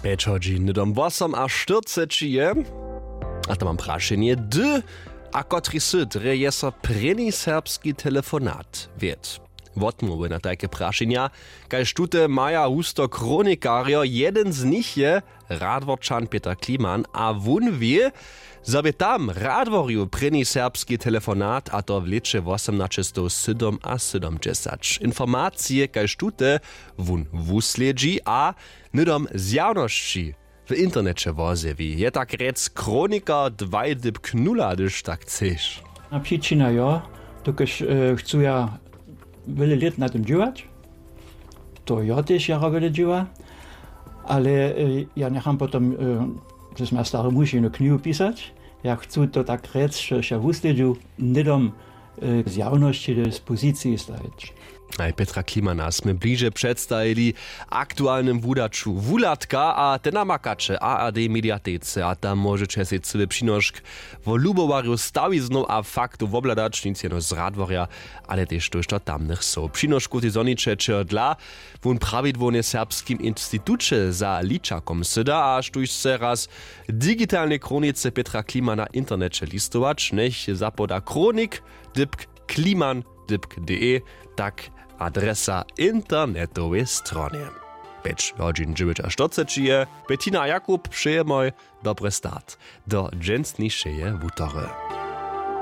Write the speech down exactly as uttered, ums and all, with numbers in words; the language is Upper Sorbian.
Pjeć hodźin hnydom wosom a štyrceći je. A to mam prašenje, hdy a kotri sy drje je so prěni serbski telefonat wěd? Wotmołwy na tajke prašenja, kaž tute maja husto chronikarjo, jeden z nich je radworčan Pětr Kliman a wón wě, zo bě tam w Radworju prěni serbski telefonat, a to w lěće wosomnaćestowsydomasydomdźesać. Informacije kaž tute wón wuslědźi a hnydom zjawnosći w interneće wozjewi. Je tak rjec chronikar dwaj dypk nula, hdyž tak chceš. A přičina jo, dokelž e, chcu ja wjele lět na tym dźěłać. To jo tež jara wjele dźěła, ale e, ja njecham potom e, że smy ja stary muž jednu knihu pisać. Ja chcu to tak rjec, że ja wuslědźu hnydom e, zjawnosći do dispoziciji stajić. Aj Petra Klimana smy bliže předstajili aktualnym wudaću Wuhladka, a te namakaće w A R D mediatece a tam móžeće sej cyły přinošk wo lubowarju stawiznow a faktow wobhladać, nic jeno z Radworja, ale tež tójšto tamnych sow. Přinošku tej zhoniće čehodla wón prawidłownje w Serbskim instituće za ličakom syda a štóž chce raz w digitalnej chronice Petra Klimana w interneće listować, njech zapoda chronik dypk kliman dypk de, tak adresa internetowej stronje. Pjeć hodźin dźewjećaštyrce je. Bettina a Jakub, přejemoj dobry start do dźensnišeje wutory.